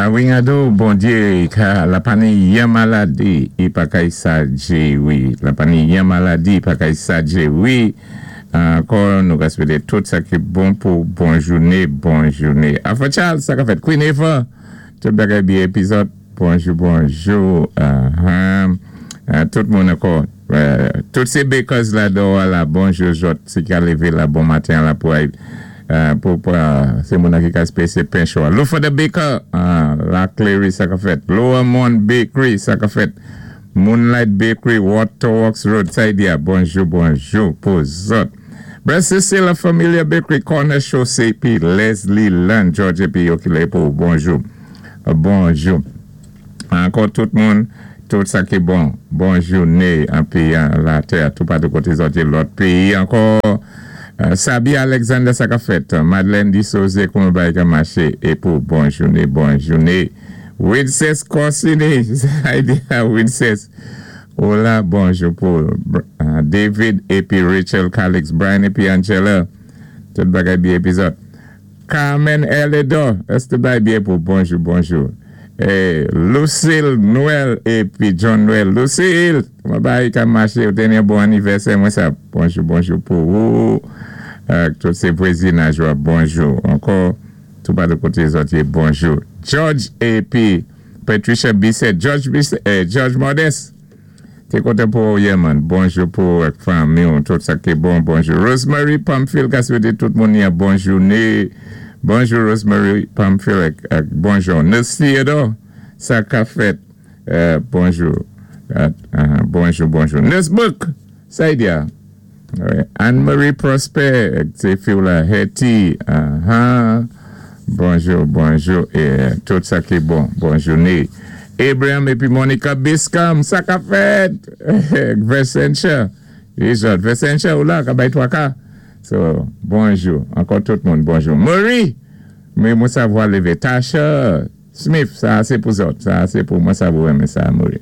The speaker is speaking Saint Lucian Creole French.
Awingado Bondyé ka la pa ni yan maladi i pa kay sadjé wi. La pa ni yan maladi i pa kay sadjé wi. Ankò nou ka swété tout sa ki bon pou bon jouné, bon jouné. Alpha Charles, sa ka fèt? Queen Eva, tout bagay byen épi zòt? Bonjou, bonjou. Tout moun ankò. Tout sé bakers la dò a la bonjou zòt si ka lévé la bon maten la pou ay pou pran sé moun nan ki ka spésyé pen cho a. Lufa the Baker la Clery, sa ka fèt? Lower Mont Bakery, sa ka fèt? Moonlight Bakery, Waterworks Road, sa y di a, bonjou, bonjou pou zòt. Brother Cecile la Familia Bakery, Corner Chaussée pi Leslie Land George épi yo ki lè pou bonjou, bonjou. Ankò tout moun, tout sa ki bon, bon jouné anpi latè toupatou koté zòt yé lòt péyi ankò. Sabi Alexander, sa kap fèt? Madeleine Disose, kouman bagay ka maché é pou bon jouné, bon jouné. Wincess Corsini, sa y di a Wincess? Hola, bonjou pou David épi Rachel Calix, Brian épi Angela, tout bagay byen épi zòt? Carmen Erledor, èske tout bagay byen pou bonjou, bonjou. Lucille Noël épi John Noël, Lucille, kouman bagay ka maché? Ou té ni yon bon anivèsè mwen sa bonjou, bonjou pou ou ak tout sé vwezinaj ou a bonjou ankò. Toupatou koté zòt yé, bonjou. George épi Patricia Bisset, George Bisset, George Modeste, té kontan pou wè w yè man, bonjou pou ou ak fanmi w, tout sa ki bon, bonjou. Rosemary Pamphile ka swété tout moun yon bon jouné, bonjou Rosemary Pamphile ak bonjou. Nurse Theodore, sa ka fèt, bonjou, bonjou, bonjou. Nurse Book, sa y di a? Anne Marie Prosper ak ti fi w la Hetty, ahan, bonjou, bonjou e tout sa ki bon, bon joune. Abraham epi Monica Biscam, sa kap fèt? Versentia, Rizòt, Versentia ou la ka bay twaka? So, bonjou, ankò tout moun bonjou. Marie, men mwen sa vwa leve. Tasha Smith, sa a se pou zòt, sa a se pou mwen sa vou renmen sa a Marie.